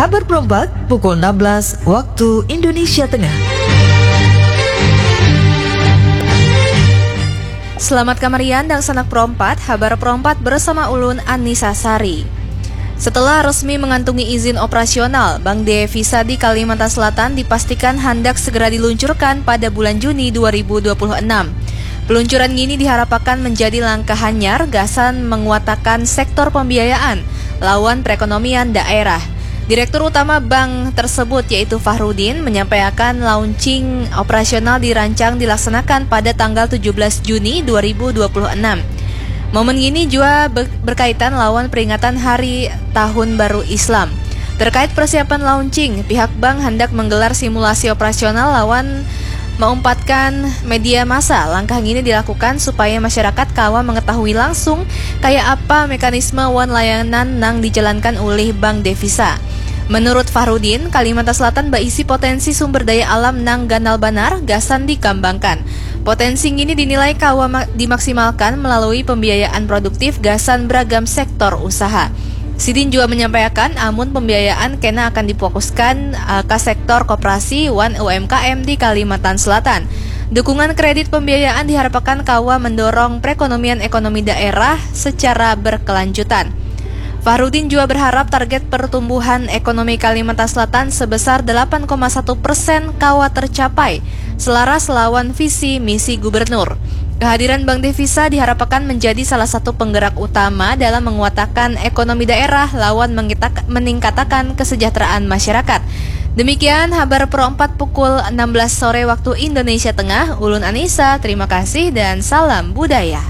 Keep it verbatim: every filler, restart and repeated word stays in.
Kabar perempat pukul enam belas waktu Indonesia Tengah. Selamat kamarian dangsanak perompat, habar perompat bersama ulun Anissa Sari. Setelah resmi mengantungi izin operasional, Bank Devisa di Kalimantan Selatan dipastikan handak segera diluncurkan pada bulan Juni dua ribu dua puluh enam. Peluncuran ngini diharapakan menjadi langkah hanyar gasan menguatakan sektor pembiayaan lawan perekonomian daerah. Direktur Utama bank tersebut, yaitu Fahrudin, menyampaikan launching operasional dirancang dilaksanakan pada tanggal tujuh belas Juni dua ribu dua puluh enam. Momen ngini jua be-, berkaitan lawan peringatan Hari Tahun Baru Islam. Terkait persiapan launching, pihak bank hendak menggelar simulasi operasional lawan maumpatkan media massa. Langkah ngini dilakukan supaya masyarakat kawa mengetahui langsung kaya apa mekanisme wan layanan nang dijalankan ulih Bank Devisa. Menurut Fahrudin, Kalimantan Selatan baisi potensi sumber daya alam nang ganal banar gasan dikambangkan. Potensi ngini dinilai kawa ma-, dimaksimalkan melalui pembiayaan produktif gasan beragam sektor usaha. Sidin jua menyampaikan, amun pembiayaan kena akan difokuskan, eh, ka sektor koperasi wan U M K M di Kalimantan Selatan. Dukungan kredit pembiayaan diharapakan kawa mendorong perekonomian ekonomi daerah secara berkelanjutan. Fahrudin jua berharap target pertumbuhan ekonomi Kalimantan Selatan sebesar delapan koma satu persen kawa tercapai, selaras lawan visi misi gubernur. Kehadiran Bank Devisa diharapakan menjadi salah satu penggerak utama dalam menguatakan ekonomi daerah lawan mengitak-, meningkatakan kesejahteraan masyarakat. Demikian habar perompat pukul enam belas sore waktu Indonesia Tengah. Ulun Anissa, terima kasih dan salam budaya.